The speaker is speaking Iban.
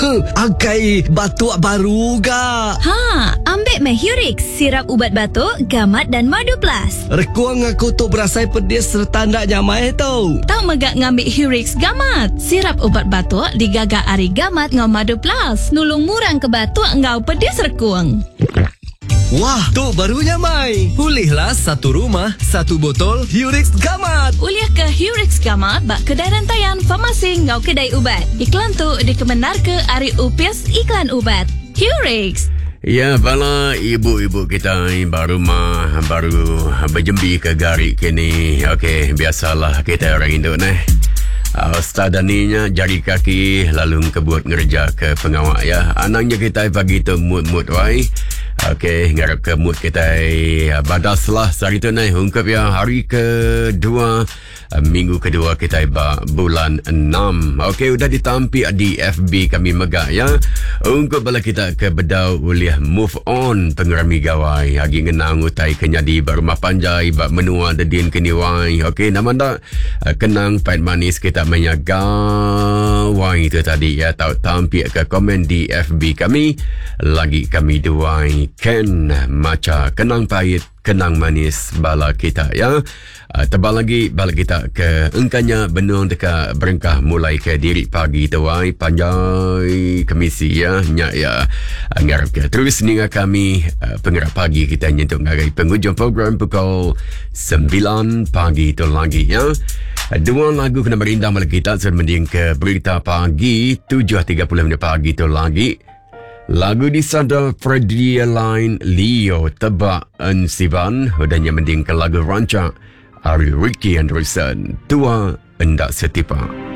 Akai batuk baru ga. Ha, ambik meh Hurix, sirap ubat batuk, gamat dan madu plus. Rekung aku tu berasai pedis sereta enda nyamai tu. Tau mega ngambi Hurix Gamat, sirap ubat batuk digaga ari gamat enggau madu plus, nulung murang ke batuk enggau pedis rekung. Wah, tu baru nyamai. Ulihlah satu rumah, satu botol Hurix Gamat. Ulih ke Hurix Gamat ba kedai rentayan, farmasi enggau kedai ubat. Iklan tu dikemendarka ari Opis Iklan Ubat. Hurix. Ya, bala ibu-ibu kitai ba rumah baru bejembi ke gari kini. Okey, biasalah kitai orang indu neh. Uh, Ustaz Dani nya jari kaki lalu engkebut ngereja ke pengawa ya. Anangnya kitai pagi tu mood-mood wai. Okey, ngarap ke mood kitai ah, badas lah sehari tu neh. Ungkup ya hari kedua ah, minggu kedua kitai ba bulan 6. Okey, udah ditampik di FB kami mega ya. Ungkup bala kita ke bedau ulih move on pengerami gawai. Agi ngenang utai ke nyadi ba rumah panjai ba menua dedin kini wai. Okey, nama enda ah, kenang pait manis kita maya gawai tu tadi ya. Tau tampik ke komen di FB kami. Lagi kami duai Ken macha kenang pait, kenang manis bala kita ya. Ah, tebal lagi bala kita ke engkanya benung deka berengkah mulai ke diri pagi tu ai panjai kemisi ya nya ya. Ah, ngarap ke terus ninga kami ah, pengerak pagi kita nyentuk ngagai penghujung program pukul 9 pagi tu lagi ya. Dua lagu kena merindang bala kita sebelum mending ke berita pagi 7.30 minit pagi tu lagi. Lagu disada Freddie Line Leo Tebak Ensiban udah nya mending ke lagu rancak ari Ricky Anderson Tua Enda Setipak.